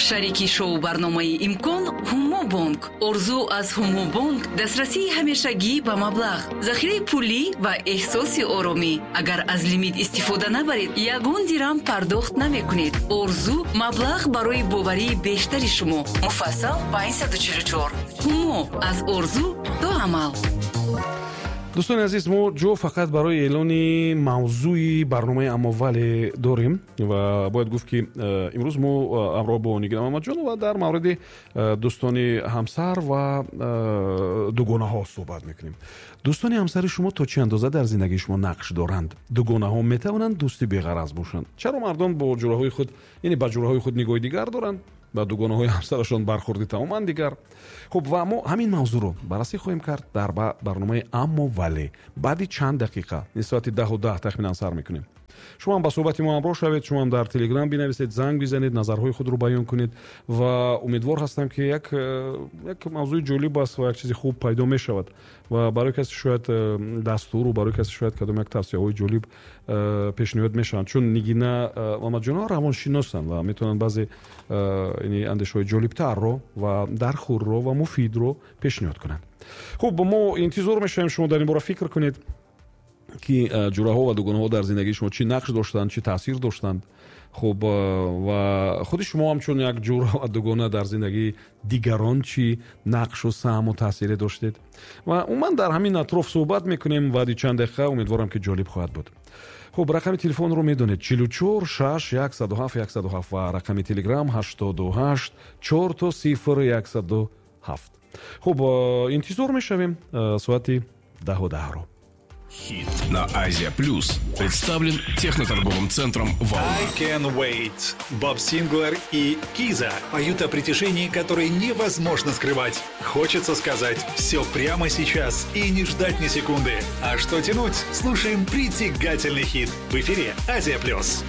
Шарики шоу-барномаи «Имкон» «Ҳумобонк». Орзу аз «Ҳумобонк» дастрасии ҳамешагӣ ба маблағ, захираи пулӣ ва эҳсоси оромӣ. Агар аз лимит истифода набаред, ягон дирам пардохт намекунед. Орзу маблағ барои боварии бештари шумо. Муфассал 544. «Ҳумо» аз орзу то амал. Дӯстони азиз, мо ҷо фақат барои эълони мавзӯи барномаи «Аммо вале» дорем ва бояд гуфт, ки имрӯз мо ҳамроҳ бо Нигина Мамаҷонова дар мавриди дӯстони ҳамсар ва дугонаҳо суҳбат мекунем. Дӯстони ҳамсари шумо то чӣ андоза дар зиндагии шумо нақш доранд? Дугонаҳо метавонанд дӯсти беғараз бошанд? Чаро мардон бо ҷураҳои худ, яъне ба ҷураҳои худ нигоҳи дигар доранд, ба дугонаҳои ҳамсарашон бархурди тамоман дигар? Хуб, ва мо ҳамин мавзӯъро баррасӣ хоҳем кард дар барномаи «Аммо вале» баъди чанд дақиқа, соати 10:10 тахминан сар мекунем. Шумо ҳам ба суҳбати мо ҳамроҳ шавед, шумо ҳам дар Телеграм бинависед, занг бизанед, назарҳои худро баён кунед ва умедвор ҳастам, ки як мавзӯи ҷолиб аст ва як чизи хуб пайдо мешавад ва барои касе шояд дастуру барои касе шояд кадом як тавсияҳои ҷолиб пешниҳод мешаванд, чун Нигина Мамаҷонова равоншиносанд ва метавонанд баъзе андешаҳои ҷолибтарро ва дархӯрро ва муфидро пешниҳод кунанд. Хуб, мо интизор мешавем, шумо дар ин бора фикр кунед, ки ҷураҳо ва дугонаҳо дар зиндагии шумо чӣ нақш доштанд, чӣ таъсир доштанд. Хуб, ва худи шумо ҳамчун як ҷура ва дугона дар зиндагии дигарон чӣ нақшу саҳму таъсире доштед? Ва умуман дар ҳамин атроф суҳбат мекунем баъди чанд дақиқа. Умедворам, ки ҷолиб хоҳад буд. Хуб, рақами телефонро медонед: 44 6 107 107 ва рақами Телеграм 88 4 0 107. Хуб, интизор мешавем соати 10:10-ро. Хит на Азия Плюс представлен техноторговым центром «Волна». I Can Wait. Боб Синклер и Киза поют о притяжении, которое невозможно скрывать. Хочется сказать все прямо сейчас и не ждать ни секунды. А что тянуть? Слушаем притягательный хит в эфире Азия Плюс.